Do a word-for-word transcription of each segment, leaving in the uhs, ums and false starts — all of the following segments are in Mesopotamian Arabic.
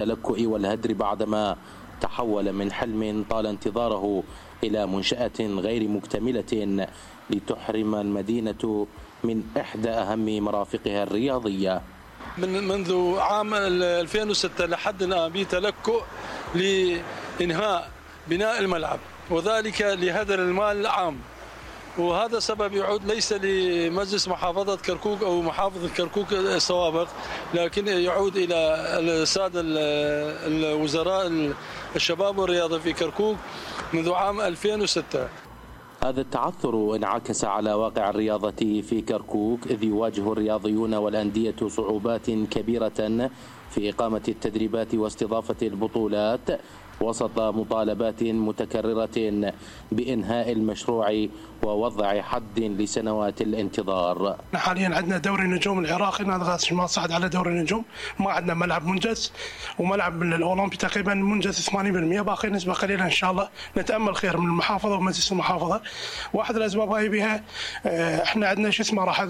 التلكؤ والهدر بعدما تحول من حلم طال انتظاره إلى منشأة غير مكتملة لتحرم المدينة من إحدى أهم مرافقها الرياضية. من منذ عام ألفين وستة لحد الآن بتلكؤ لإنهاء بناء الملعب، وذلك لهدر المال العام، وهذا سبب يعود ليس لمجلس محافظة كركوك أو محافظة كركوك السوابق، لكن يعود إلى السادة الوزراء الشباب والرياضة في كركوك منذ عام ألفين وستة. هذا التعثر انعكس على واقع الرياضة في كركوك، إذ يواجه الرياضيون والأندية صعوبات كبيرة في إقامة التدريبات واستضافة البطولات وسط مطالبات متكررة بإنهاء المشروع ووضع حد لسنوات الانتظار. حاليا عندنا دوري النجوم العراقي، نادي غاز ما صعد على دوري النجوم، ما عندنا ملعب منجز، وملعب الأولمبي تقريبا منجز ثمانين بالمئة، باقي نسبة قليلة إن شاء الله نتأمل خير من المحافظة ومجلس المحافظة. واحد الأسباب هاي بها احنا عندنا شو اسمه راح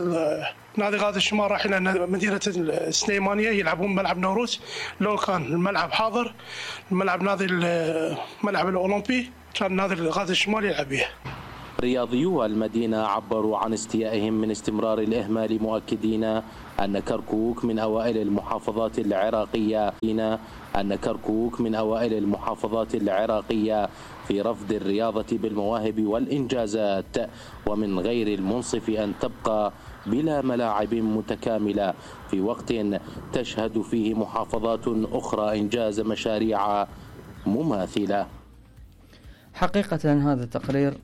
نادي غاز الشمال راح إلى مدينة السليمانية يلعبون ملعب نوروز، لو كان الملعب حاضر الملعب نادي الملعب الأولمبي كان نادي غاز الشمال يلعب به. رياضيو المدينة عبروا عن استيائهم من استمرار الإهمال، مؤكدين أن كركوك من أوائل المحافظات العراقية أن كركوك من أوائل المحافظات العراقية في رفض الرياضة بالمواهب والإنجازات، ومن غير المنصف أن تبقى بلا ملاعب متكاملة في وقت تشهد فيه محافظات أخرى إنجاز مشاريع مماثلة. حقيقة هذا التقرير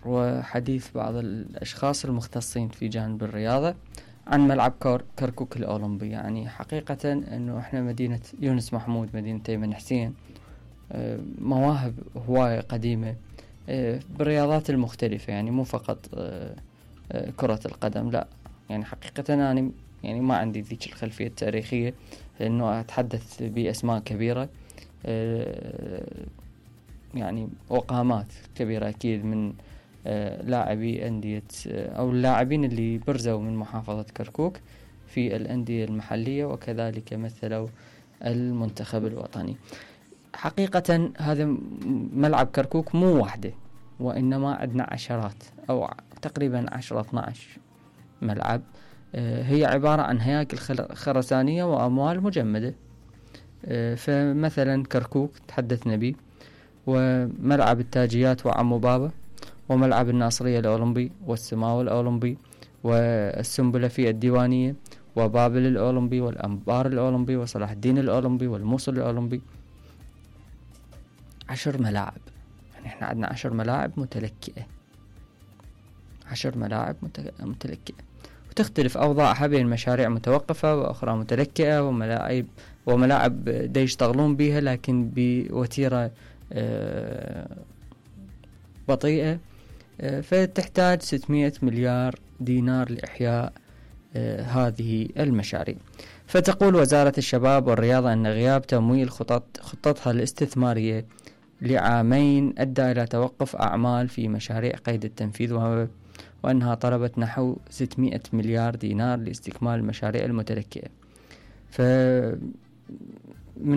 وحديث بعض الأشخاص المختصين في جانب الرياضة عن ملعب كركوك الأولمبي. يعني حقيقة أنه إحنا مدينة يونس محمود، مدينة أيمن حسين، مواهب هواية قديمة بالرياضات المختلفة، يعني مو فقط كرة القدم، لا يعني حقيقة أنا يعني ما عندي ذيك الخلفية التاريخية لأنه أتحدث بأسماء كبيرة يعني وقامات كبيرة أكيد من لاعبي أندية أو اللاعبين اللي برزوا من محافظة كركوك في الأندية المحلية وكذلك مثلوا المنتخب الوطني. حقيقة هذا ملعب كركوك مو واحدة، وإنما عندنا عشرات أو تقريبا عشرة اثنا عشر ملعب، هي عبارة عن هياكل خرسانية وأموال مجمدة. فمثلا كركوك تحدثنا به، وملعب التاجيات وعمو بابا، وملعب الناصرية الأولمبي، والسماوة الأولمبي، والسنبلة في الديوانية، وبابل الأولمبي، والأنبار الأولمبي، وصلاح الدين الأولمبي، والموصل الأولمبي. عشر ملاعب، يعني احنا عندنا عشر ملاعب متلكئة، عشر ملاعب متلكئة، وتختلف أوضاعها بين مشاريع متوقفة وأخرى متلكئة، وملاعب وملاعب دا يشتغلون بها لكن بوتيرة بطيئة، فتحتاج ستمائة مليار دينار لإحياء هذه المشاريع. فتقول وزارة الشباب والرياضة أن غياب تمويل خطط خطتها الاستثمارية لعامين أدى إلى توقف أعمال في مشاريع قيد التنفيذ، وأنها طلبت نحو ستمائة مليار دينار لاستكمال المشاريع المتلكئة. فمن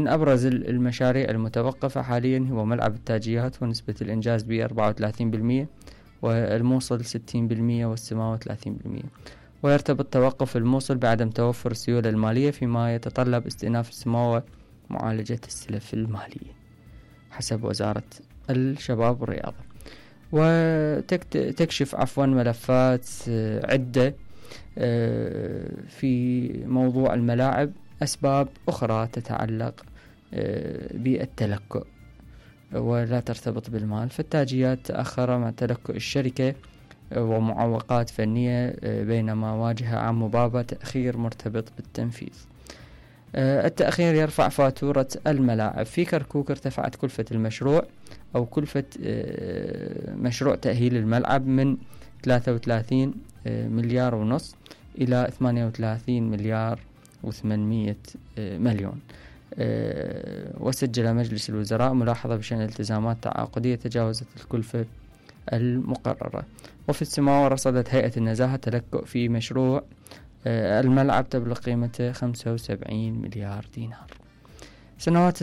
أبرز المشاريع المتوقفة حاليا هو ملعب التاجيات ونسبة الإنجاز ب أربعة وثلاثين بالمئة، والموصل ستين بالمئة، والسماوة ثلاثين بالمئة. ويرتبط توقف الموصل بعدم توفر السيولة المالية، فيما يتطلب استئناف السماوة معالجة السلف المالية حسب وزارة الشباب والرياضة. وتكشف عفوا ملفات عدة في موضوع الملاعب أسباب أخرى تتعلق بالتلكؤ ولا ترتبط بالمال. فالتاجيات تأخر مع تلكؤ الشركة ومعوقات فنية، بينما واجه عمو بابا تأخير مرتبط بالتنفيذ. التأخير يرفع فاتورة الملاعب. في كركوك ارتفعت كلفة المشروع أو كلفة مشروع تأهيل الملعب من ثلاثة وثلاثين مليار ونص إلى ثمانية وثلاثين مليار وثمانمائة مليون. وسجل مجلس الوزراء ملاحظة بشأن الالتزامات تعاقدية تجاوزت الكلفة المقررة. وفي السماوة رصدت هيئة النزاهة تلكؤ في مشروع الملعب تبلغ قيمته خمسة وسبعين مليار دينار. سنوات